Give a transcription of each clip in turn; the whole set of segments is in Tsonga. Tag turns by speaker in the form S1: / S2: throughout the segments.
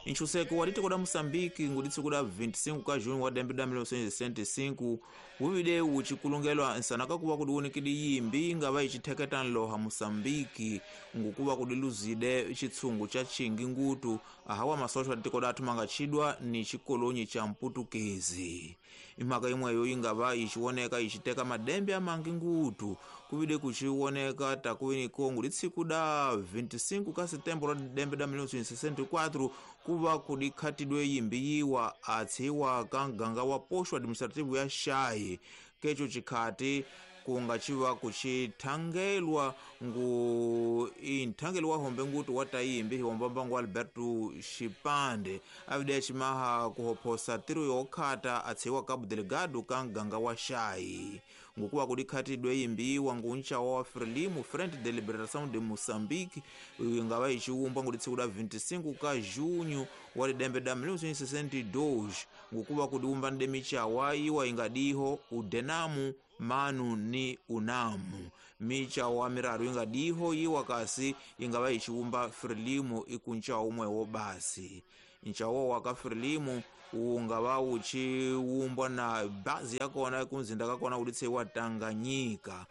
S1: Nchuseko wa ditiko da Moçambique nguditsuku da 25 ka junho wa dembe da 1965 wuvile wucikulungelwa nsanaka kuva kudiwonekile yimbi ingava icitheketa nloha Moçambique ngukuva kudiluzide citshungu ca chingi ngutu ahawa masocho wa ditiko dathu mangatshidwa ni cikolonyi ca mputukezi. Imhaka imweyo ingava iciwoneka iciteka madembe amangi ngutu kuvile kuciwoneka takuviniko ngulitsiku da 25 ka setembro la dembe da 1964 kuva kudikhatidwe yimbi yiwa atsiwa ka nganga wa poxo administrativo ya Xai. Keco cikhati kungaciva kucithangelwa ngu inthangelo wa hombe ngutu wa tayimbi hiwombamba Alberto Xipande avide acimaha kuhophosa tiro yokhata atsiwa Cabo Delgado ka nganga wa Xai. Ngukuva kudikhatidwe yimbiwa nguncawa wa Frelimo, Frente de Liberação de Moçambique, ingava iciwumbwa nguditsiku da 25 ka junho wa lidembe da 1962 ngukuva kudiwumbanide micawa iwa ingadiho udenamu manu ni unamu. Micawa miraru ingadiho iwa kasi ingava iciwumba Frelimo ikuncawa umwewo basi. Ncawo wa Frelimo ungava uciwumbwa na bazi yakona kumzinda kakona ulitsiwa Tanganyika,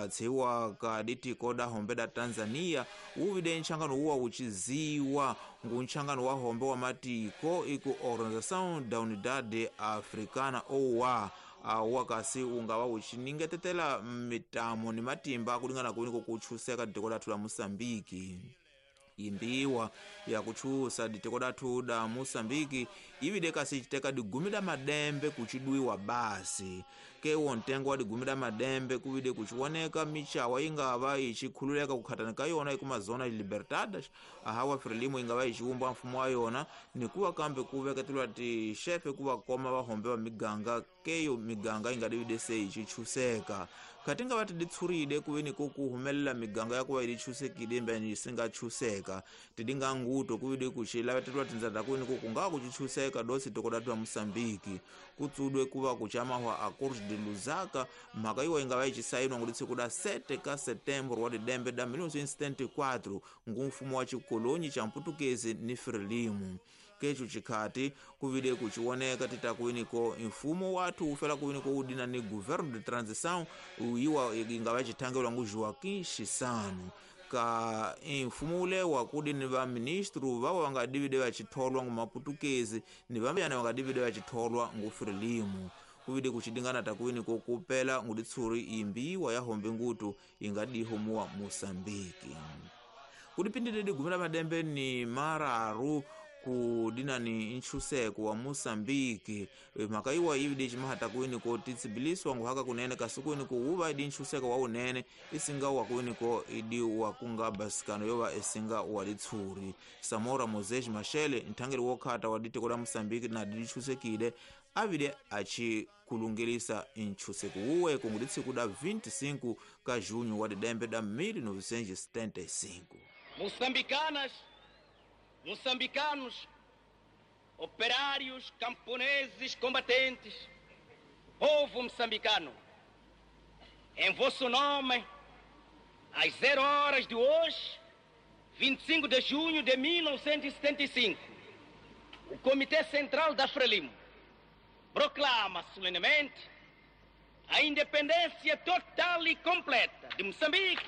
S1: tsiwa kaditiko da hombe da Tanzania. Uvide nchangano uwa uciziwa ngunchangano wa hombe wa matiko iku Organização da Unidade Africana OUA, wakasi ungava uciningetetela mitamo ni matimba kulingana kuniko kuchuseka ditiko dathu la Moçambique. Imbiwa ya kuchusa ditiko dathu da Moçambique ivide kasi citeka digumi da madembe kucidwiwa basi. Kewo ntengo wa digumi da madembe kuvide kuciwoneka michawa ingava icikhululeka kukhatana ka yona ikumazona libertadas ahawa Frelimo ingava iciwumba mfumo wa yona nikuwa kambe kuveketelwa tixefe kuva koma vahombe va miganga keyo miganga ingadivide se icichuseka. Khatinga va tiditshuride kuveni ko kuhumelela miganga ya kuva ilichusekile mbeni isingachuseka tidinga nguto kuvide kucilavetelwa tindzala kuveni ko kungava kucichuseka dosi tiko dathu la Moçambique kutsudwe kuva kucamahwa Acordos de Lusaka. Mhaka iwa ingava icisainwa ngulitsiku da 7 ka setembro wa didembe da 1974 ngu mfumo wa cikolonyi ca mputukezi ni Frelimo. Keco cikhati kuvide kuciwoneka titakuwiniko mfumo wathu ufela kuwiniko udina ni governo de transição iwa ingava cithangelwa ngu Joaquim Chissano. Ka mfumo ulewa kudi ni vaministru vawa vangadivide vacitholwa ngu maputukezi ni vambyana vangadivide vacitholwa ngu Frelimo. Kuvide kucidingana takuwiniko kupela nguditshuri imbiwa ya hombe ngutu ingadiho muwa Moçambique. Kudipindile digumi la madembe ni mararu kudinani nchuseko wa Moçambique. Mhaka iwa ivide cimahata kuwiniko titsibiliswa nguhaka kunene kasi kuwiniko wuva idi nchuseko wa unene isinga wa kuwiniko idi wa kunga basikano yova isinga wa litshuri. Samora Moses Machel nthangeli wokhata wa ditiko la Moçambique na dilichusekile avide acikulungelisa nchuseko wuwe kungulitsiku da 25 ka junho wa didembe da 1975.
S2: Moçambicanas, moçambicanos, operários, camponeses, combatentes, povo moçambicano, em vosso nome, às 0 horas de hoje, 25 de junho de 1975, o Comitê Central da Frelimo proclama solenemente a independência total e completa de Moçambique.